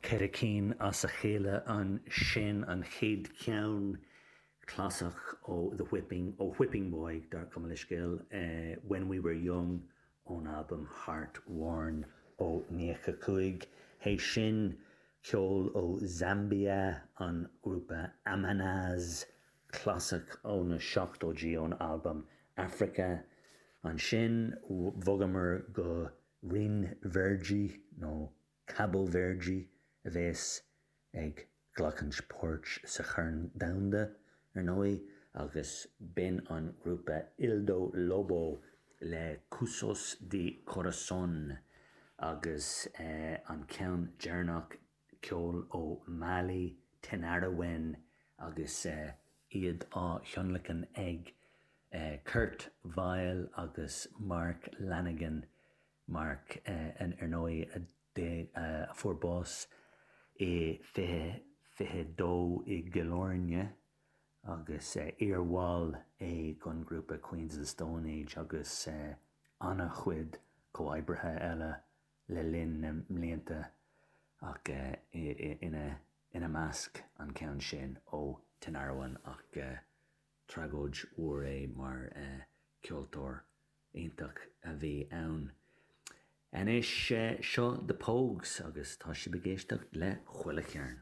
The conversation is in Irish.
Cheithre cinn as a chéile ansin, an chéad cheann clasach ó The Whipping, ó Whipping Boy, gabh mo leithscéal, When We Were Young ón albam Heart Worn ó 95. Théis sin, ceol ó Zambia, an grúpa Amanaz, clasach ó na seachtóidí ón albam Africa. Ansin, bhogamar go Rinn Verde nó Cabo Verde a bheas ag glacaint páirt sa Chorn Domhanda, ar ndóigh, agus b'in an grúpa Ildo Lobo le Cuzos de Corazón agus an ceann deireanach, ceol ó Mali, Tinariwen agus iad á thionlacan ag Kurt Vile agus Mark Lanegan. Mark, ar ndóigh, a fuair bás i 2022 i gCill Airne agus iarbhall é den ghrúpa Queens of the Stone Age agus an-chuid comhoibrithe eile le linn na mblianta ach ina measc an ceann sin ó Tinariwen ach tragóid mhór é mar ceoltóir iontach a bhí ann. Anois, seo The Pogues agus tá sibh ag éisteacht le Chuile Chearn.